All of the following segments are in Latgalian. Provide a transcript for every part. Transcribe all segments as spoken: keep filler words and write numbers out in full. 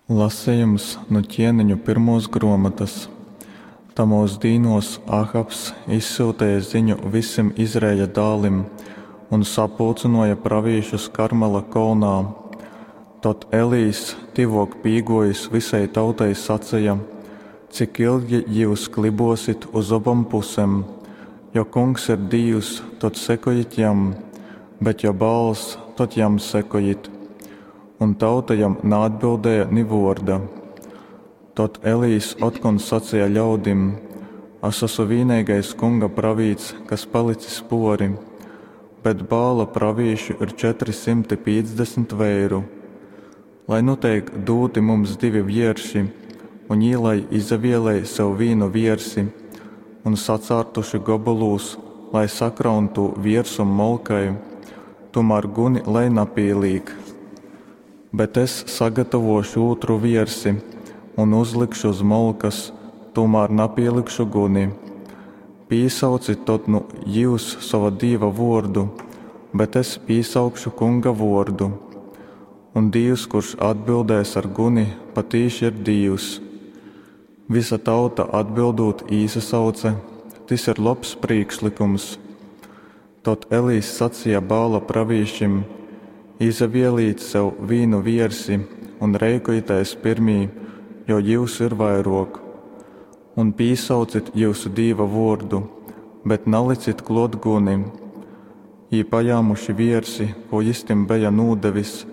Lasejums nu Ķieneņu pyrmuos gruomotys. Tamuos dīnuos Ahabs izsyuteja ziņu vysim Izraeļa dālim un sapulcynōja pravīšus Karmela kolnā. Tod Elijs, tyvōk pīgōjis vysai tautai, saceja, Cik ilgi jyus klybōsit uz obom pusem? Jo Kungs ir Dīvs, tod sekojit jam, bet jo Baals, tod jam sekojit. Un tauta jam naatbildēja ni vōrda. Tod Elijs otkon saceja ļaudim, Es asu vīneigais Kunga pravīts, kas palicis pōri, bet Baala pravīšu ir četri symti pīcdesmit veiru. Lai nu teik dūti mums divi vierši, un jī lai izavielej sev vīnu viersi, un sacārtuši gobolūs, lai sakraun tū viersum molkai, tūmār guni lai napīlīk. Bet es sagatavōšu ūtru viersi un uzlikšu uz molkas, tūmār napīlikšu guni. Pīsaucit tod nu jyus sova dīva vōrdu, bet es pīsaukšu Kunga vōrdu. Un Dīvs, kurš atbildēs ar guni, patīši ir Dīvs. Vysa tauta atbildūt īsasauce, Tys ir lobs prīkšlykums. Tod Elijs saceja Baala pravīšim, Izavielejit sev vīnu viersi un reikojitēs pyrmī, jo jyusu ir vairōk. Un pīsaucit jyusu dīva vōrdu, bet nalicit klōt guni. Jī pajāmuši viersi, kū jys tim beja nūdevis,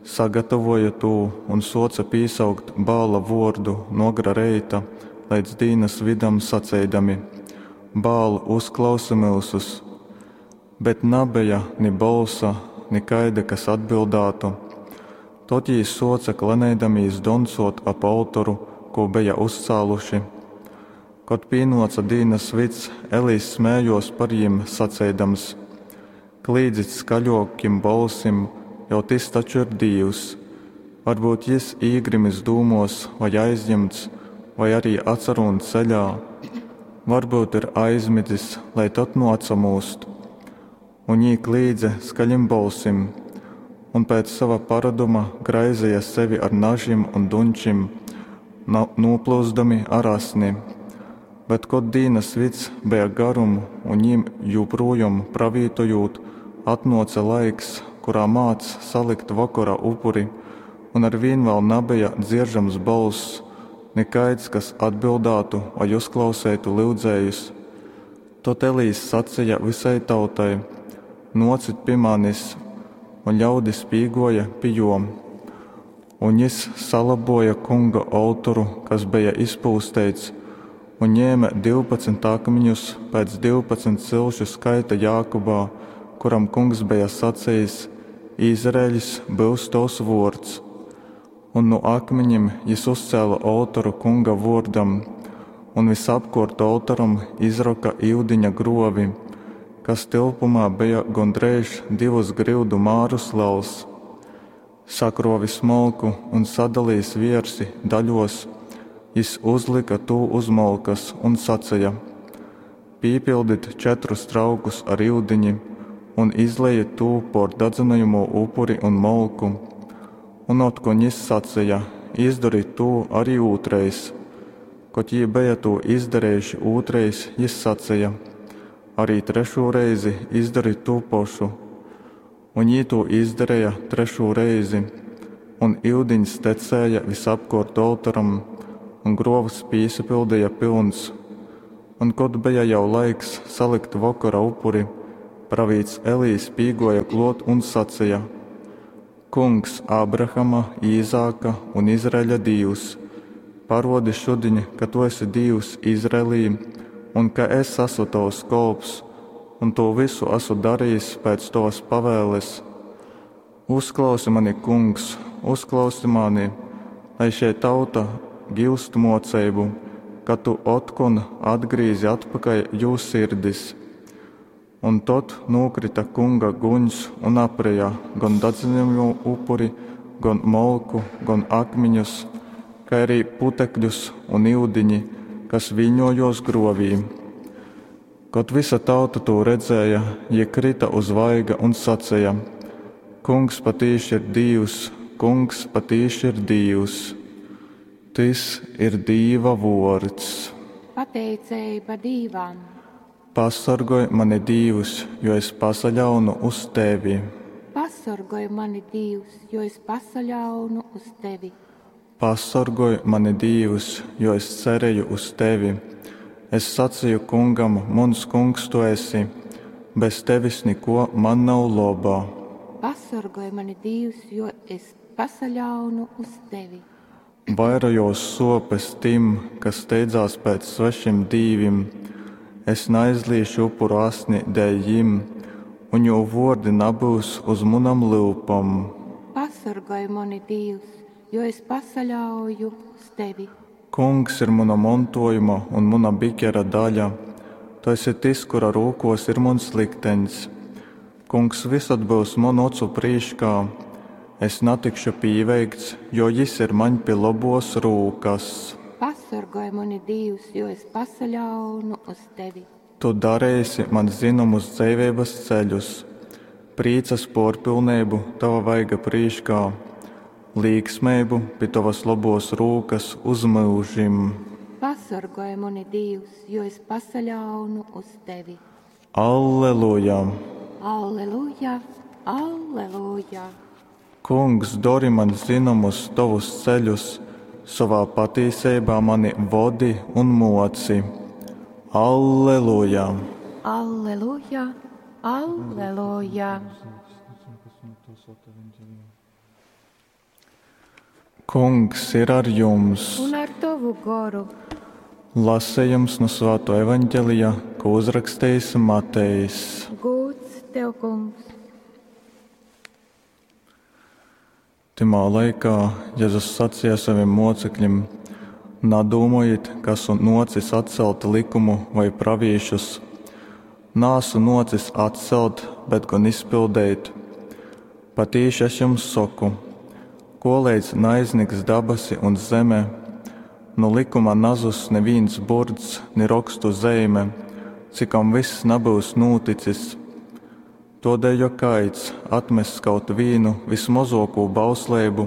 sagatavōja tū un sōce pīsaukt Baala vōrdu nu agra reita leidz dīnas vydam, saceidami, Baal, uzklausi myusus! Bet nabeja ni bolsa, ni kaida, kas atbildātu. Tod jī sōce kleneidamīs doncōt ap oltoru, kū beja uzcāluši. Kod pīnōce dīnas vyds, Elijs smējōs par jim, saceidams, Klīdzit skaļōkim bolsim, jo tys taču ir dīvs! Varbyut jys īgrimis dūmōs vai aizjimts, vai ari atsarūn ceļā. Varbyut ir aizmidzis, lai tod nu atsamūst. Un jī klīdze skaļim bolsim, un pēc sova paroduma graizeja sevi ar nažim un dunčim, nūplyuzdami ar asni. Bet kod dīnas vyds beja garum un jim jūprūjom pravītojūt, atnōce laiks, kurā mādz salikt vokora upuri, un arvīn vēl nabeja dzieržams bolss, nikaids, kas atbildātu vai uzklauseitu lyudzējus. Tod Elijs saceja vysai tautai, Nōcit pi manis, un ļaudis pīgōja pi jō. Un jys salabōja Kunga oltoru, kas beja izpūsteits, un ņēme divpadsmit akmiņus pēc divpadsmit cilšu skaita Jākubā, kuram Kungs beja sacejis, Izraeļs byus tovs vōrds. Un nu akmiņim jys uzcēle oltoru Kunga vōrdam, un vysapkōrt oltoram izroka yudiņa grovi, kas tilpumā beja gondreiž divus gryudu mārus lels. Sakrovis molku un sadalījis viersi daļos, jis uzlyka tū uz molkas un saceja: Pīpildit četrus traukus ar iudiņi un izlejit tū pōr dadzynojamū upuri un molku. Un otkon jis saceja: Izdorit tū arī ūtrreiz. Kod jī beja tū izdarejuši ūtrreiz, jis saceja: Arī trešū reizi izdorit tū pošu. Un jī tū izdareja trešū reizi, un iudiņs tecēja visapkōrt oltoram, un grovs pīsapildeja pylns. Un kod beja jau laiks salikt vokora upuri, pravīts Elijs pīgōja klōt un saceja: Kungs, Ābrahama, Īzāka un Izraeļa Dīvs, parōdi šudiņ, ka tu esi Dīvs Izraelī un ka es esmu tovs kolps, un tū visu esmu darījis pēc tovas pavēles. Uzklausi mani, Kungs, uzklausi mani, lai šei tauta giust moceibu, ka tu otkon atgrīzi atpakaļ jū sirdis. Un tod nūkrita Kunga guņs un apreja gan dadzynojamū upuri, gan molku, gan akmiņus, kai arī putekļus un iudiņi, kas viļņojos grovī. Kod vysa tauta tū redzēja, jī krita uz vaiga un saceja: Kungs patīši ir Dīvs, Kungs patīši ir Dīvs. Tys ir Dīva vōrds. Pateiceiba Dīvam. Pasorgoj mani, Dīvs, jo es pasaļaunu uz tevi. Pasorgoj mani, Dīvs, jo es pasaļaunu uz tevi. Pasorgoj mani, Dīvs, jo es cereju uz tevi. Es saceju Kungam, Muns Kungs tu esi, bez tevis nikō man nav loba. Pasorgoj mani, Dīvs, jo es pasaļaunu uz tevi. Vairojōs sōpes tim, kas steidzās pēc svešim dīvim. Es naizlīšu upuru asni dēļ jim, un jū vōrdi nabyus uz munam lyupom. Pasorgoj mani, Dīvs, jo es pasaļauju uz tevi. Kungs ir muna montōjuma un muna bikera daļa, tu esi tys, kura rūkōs ir muns likteņs. Kungs vysod byus munu ocu prīškā, es natikšu pīveikts, jo jys ir maņ pi lobōs rūkas. Pasorgoj mani, Dīvs, jo es pasaļaunu uz tevi. Tu dareisi man zynomus dzeiveibas ceļus, prīcas pōrpilneibu tova vaiga prīškā, līksmeibu pi tovas lobōs rūkas uz myužim. Pasorgoj mani, Dīvs, jo es pasaļaunu uz tevi. Alleluja! Alleluja! Alleluja! Kungs, dori man zynomus tovus ceļus, sovā patīseibā mani vodi un moci. Alleluja! Alleluja! Alleluja! Kungs ir ar jums! Un ar tovu goru! Lasījums no Svāto evaņģelija, ko uzrakstījis Matejs. Gūds tev, kungs! Tymā laikā Jezus sacīja saviem mocekļiem: Nadūmojit, ka esmu nōcis atcelt likumu vai pravīšus. Nāsu nōcis atcelt, bet gan izpildeit. Patīši es jums saku, koleidz naizniks dabasi un zeme, no likuma nazuss neviens burts, ni rokstu zeime, cikam viss nabyus nūticis. Todēļ, ja kaids atmess kaut vīnu vismozokū bausleibu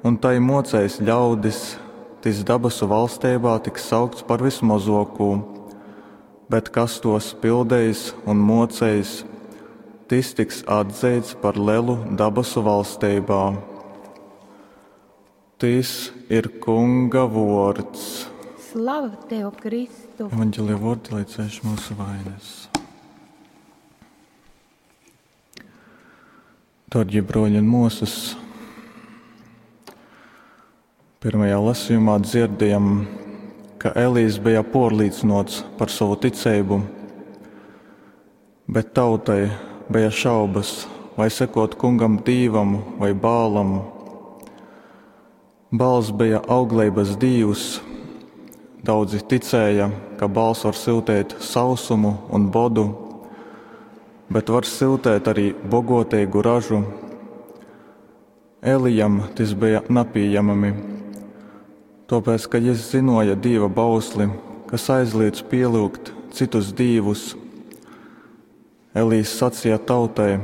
un tai mocēs ļaudis, tis dabasu valsteibā tiks saukts par vismozokū. Bet kas tos pildeis un moceis, tis tiks atzeits par lelu dabasu valsteibā. Tis ir Kunga vōrds. Slava tev, Kristu! Evanģelija vōrdi, lai cēš mūsu vainas. Dārgie broļi un mūsas, pirmajā lasījumā dzirdējam, ka Elīs bija porlīdzinots par savu ticību, bet tautai bija šaubas, vai sekot kungam Dīvam vai Bālam. Bāls bija augleibas dīvs. Daudzi ticēja, ka Bāls var siltēt sausumu un bodu, bet var siltēt arī bogotīgu ražu. Elijam tis bija napieejami, tāpēc, ka jis zinoja Dieva bausli, kas aizliedz pielūgt citus dīvus. Elīs sacīja tautai: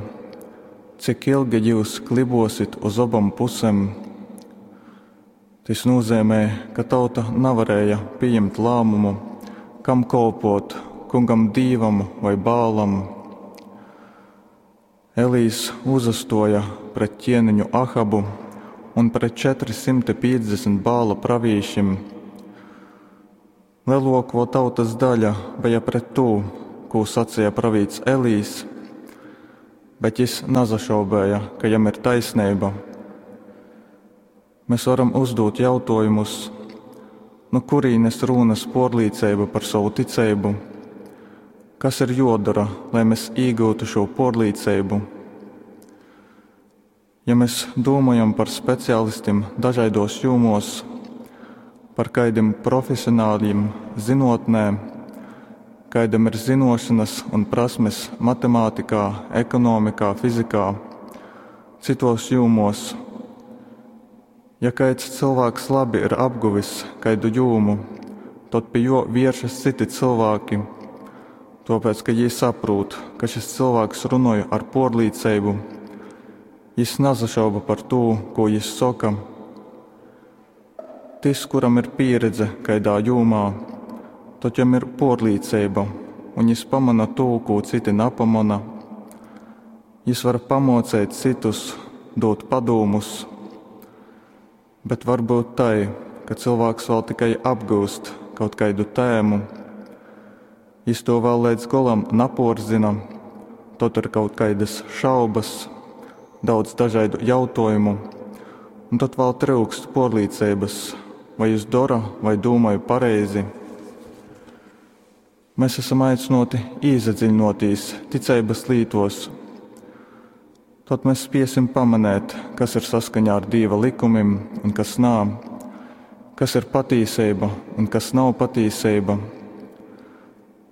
Cik ilgi jūs klibosit uz obam pusēm? Tas nozīmē, ka tauta nevarēja pieņemt lēmumu, kam kalpot, kungam Dīvam vai Bālam. Elīs uzastoja pret ķēniņu Ahabu un pret četri simti piecdesmit Bāla pravīšim. Lielāko tautas daļa bija pret to, ko sacīja pravīts Elīs, bet jis nazašaubēja, ka jam ir taisnība. Mēs varam uzdot jautājumus, no kurienes rūnas porlīdzība par savu ticību? Kas ir jodara, lai mēs iegūtu šo porlīdzību? Ja mēs domājam par speciālistiem dažādos jomos, par kādiem profesionāļiem zinotnē, kādam ir zinošanas un prasmes matemātikā, ekonomikā, fizikā, citos jomos. Ja kāds cilvēks labi ir apguvis kādu jomu, tad pie jo vēršas citi cilvēki, tāpēc, ka viņi saprot, ka šis cilvēks runāja ar porlīdzību. Jis nazašauba par to, ko jis saka. Tys, kuram ir pīredze kaidā jūmā, tod jam ir puorlīceiba, un jis pamona tū, kū cyti napamona. Jis var pamuoceit cytus, dūt padūmus. Bet var byut tai, ka cylvāks vēl tikai apgyust kaut kaidu tēmu. Jis tū vēl leidz golam napuorzyna, tod ir kaut kaidys šaubys, daudz dažaidu jautuojumu, un tod vēl tryukst puorlīceibys, vai jis dora vai dūmoj pareizi. Mēs esam aicynuoti īsadziļinuotīs ticeibys lītuos. Tod mēs spiesim pamanēt, kas ir saskaņā ar Dīva likumim un kas nā, kas ir patīseiba un kas nav patīseiba.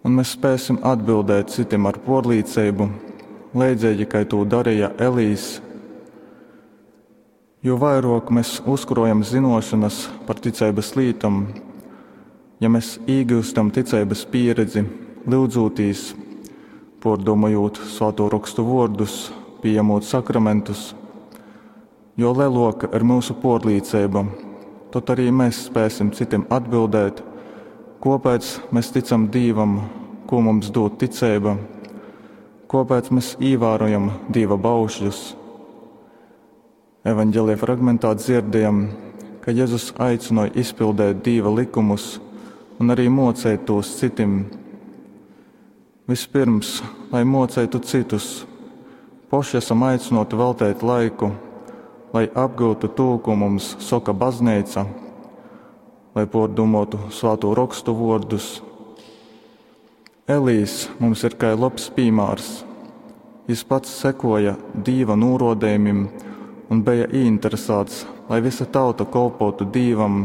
Un mēs spēsim atbildēt citim ar puorlīceibu, leidzeigi kai tū darīja Elīs. Jo vairuok mēs uzkrojam zynuošonys par ticeibys lītom, ja mēs īgiustam ticeibys pīredzi, lyudzūtīs, puordūmojūt Svātū Rokstu vuordus, pījamūt sakramentus, jo leluoka ir myusu puorlīceiba, tod arī mēs spēsim citim atbildēt, kuopēc mēs ticam Dīvam, kū mums dūd ticeiba, kuopēc mēs īvārojam Dīva baušļus. Evaņģēlija fragmentā dzirdējam, ka Jezus aicināja izpildēt Dīva likumus un arī mocēt tos citim. Vispirms, lai mocētu citus, poši esam aicināti veltīt laiku, lai apgūtu to, ko mums saka baznīca, lai pārdomātu Svāto Rokstu vārdus. Elīs mums ir kā labs piemērs. Jis pats sekoja Dīva nūrodējumim un bija ieinteresēts, lai visa tauta kolpotu Dīvam.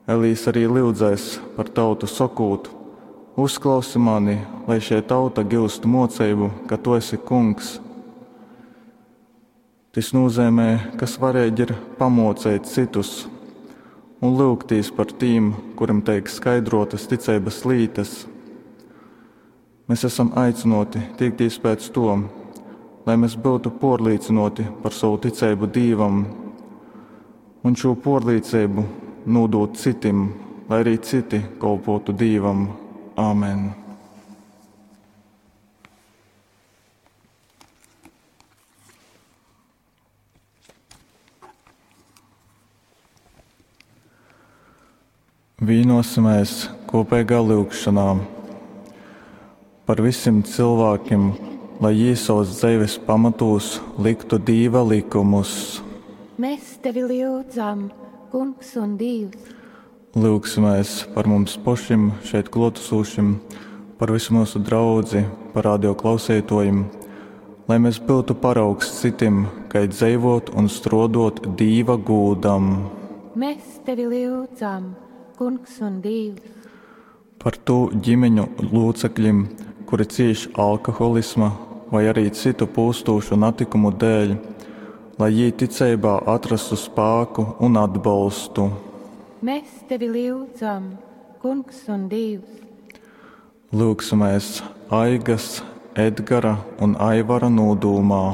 Elīs arī lyudzēs par tautu sakot: Uzklausi mani, lai šie tauta gūst mocību, ka tu esi kungs. Tys nozīmē, ka svarīgi ir pamocēt citus un lūgtīs par tīm, kurim teik skaidrotas ticeibas lītas. Mēs esam aicināti tiekties pēc to, lai mēs būtu porlīdzinoti par savu ticību Dīvam un šo porlīdzību nodot citim, lai arī citi kolpotu Dīvam. Āmen! Vīnosimies kopīgā lūgšanā par visiem cilvēkiem, lai jī savas dzīves pamatos liktu Dīva likumus. Mēs tevi lūdzam, Kungs un Dievs. Lūgsimies par mums pašiem šeit klātesošiem, par visu mūsu draudzi, par radio klausītājiem, lai mēs būtu paraugs citim, kā dzīvot un strodot Dīva gūdam. Mēs tevi lūdzam, Kungs un Dievs. Par tū ģimeņu locekļiem, kuri cieš alkoholisma vai arī citu pūstošu natikumu dēļ, lai jī ticeibā atrastu spāku un atbalstu. Mēs tevi lūdzam, Kungs un Dievs. Lūgsimies Aigas, Edgara un Aivara nodūmā.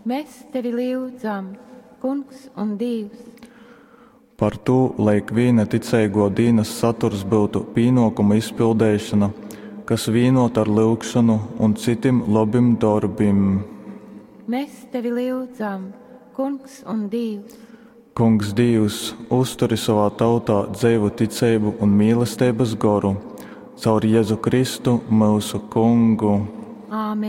Mēs tevi lūdzam, Kungs un Dievs. Par to, lai ikviena ticīgo dienas saturs būtu pienākuma izpildīšana, kas vienot ar lūgšanu un citiem labiem darbiem. Mēs tevi lūdzam, Kungs un Dievs. Kungs Dievs, uzturi savā tautā dzīvu ticību un mīlestības goru, caur Jēzu Kristu mūsu Kungu. Āmen.